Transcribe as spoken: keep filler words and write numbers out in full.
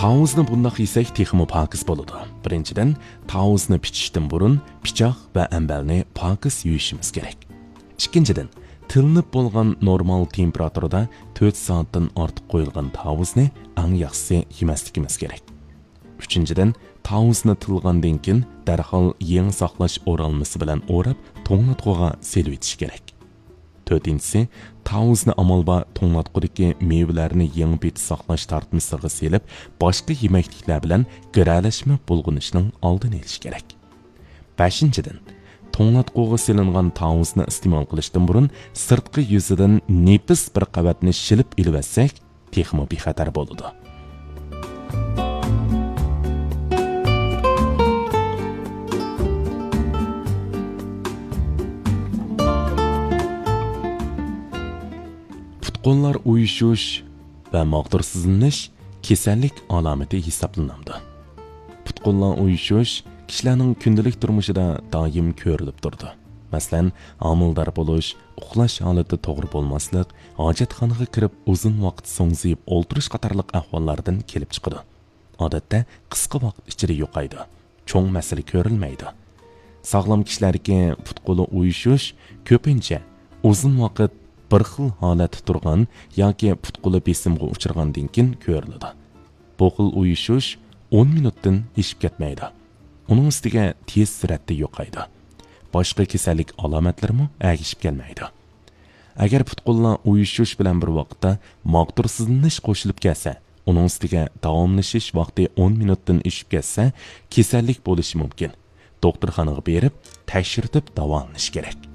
تاۋۇزنى بۇنداق يېسەك تېخىمۇ پاكىز بولىدۇ. بىرىنچىدىن، تاۋۇزنى پىچىشتىن بۇرۇن پىچاق ۋە ئەمبەرنى پاكىز يۇيۇشىمىز كېرەك. ئىككىنچىدىن، تىلىنىپ بولغان نورمال تېمپېراتۇرىدا تۆت سائەتتىن ئارتۇق قويۇلغان تاۋۇزنى ئەڭ ياخشىسى يېمەسلىكىمىز كېرەك. ئۈچىنچىدىن، تاۋۇزنى تىلغاندىن كېيىن دەرھال يېڭى ساقلاش ئورالمىسى بىلەن ئوراپ، توڭلاتقۇغا سېلىۋېتىش كېرەك. تۆتىنچىسى، تاۋۇزنى ئامال بار توڭلاتقۇدىكى مېۋىلەرنى يېڭى پېتى ساقلاش تارتمىسىغا سېلىپ، باشقا يېمەكلىكلەر بىلەن گىرەلەشمە بۇلغىنىشنىڭ ئالدىنى ئېلىش كېرەك. بەشىنچىدىن، توڭلاتقۇغا سېلىنغان تاۋۇزنى ئىستېمال قىلىشتىن بۇرۇن سىرتقى يۈزىدىن نېپىز بىر قەۋەتنى شىلىپ ئېلىۋەتسەك، تېخىمۇ بىخەتەر بولىدۇ. پۇت-قوللار ئۇيۇشۇش ۋە ماغدۇرسىزلىنىش كېسەللىك ئالامىتى ھېسابلىنامدۇ؟ پۇت-قوللار ئۇيۇشۇش كىشىلەرنىڭ كۈندىلىك تۇرمۇشىدا دائىم كۆرۈلۈپ تۇرىدۇ. مەسىلەن، ھامىلىدار بولۇش، ئۇخلاش ھالىتى توغرا بولماسلىق، ھاجەتخانىغا كىرىپ ئۇزۇن ۋاقىت سوڭزىيىپ ئولتۇرۇش قاتارلىق ئەھۋاللاردىن كېلىپ چىقىدۇ. ئادەتتە قىسقا ۋاقىت ئىچىدە يوقايدۇ. چوڭ مەسىلە كۆرۈلمەيدۇ. ساغلام كىشىلەردىكى پۇت-قولى ئۇيۇشۇش كۆپىنچە ئۇزۇن ۋاقىت بىر خىل ھالەتتە تۇرغان ياكى پۇت-قولى بېسىمغا ئۇچرىغاندىن كېيىن كۆرۈلىدۇ. بۇ خىل ئۇيۇشۇش ئون مىنۇتتىن ئېشىپ كەتمەيدۇ. ئۇنىڭ ئۈستىگە تېز سۈرئەتتە يوقايدۇ. باشقا كېسەللىك ئالامەتلىرىمۇ ئەگىشىپ كەلمەيدۇ. ئەگەر پۇت-قوللار ئۇيۇشۇش بىلەن بىر ۋاقىتتا ماغدۇرسىزلىنىش قوشۇلۇپ كەلسە، ئۇنىڭ ئۈستىگە داۋاملىشىش ۋاقتى ئون مىنۇتتىن ئېشىپ كەتسە، كېسەللىك بولۇشى مۇمكىن. دوختۇرخانىغا بېرىپ، تەكشۈرتۈپ داۋالىنىش كېرەك.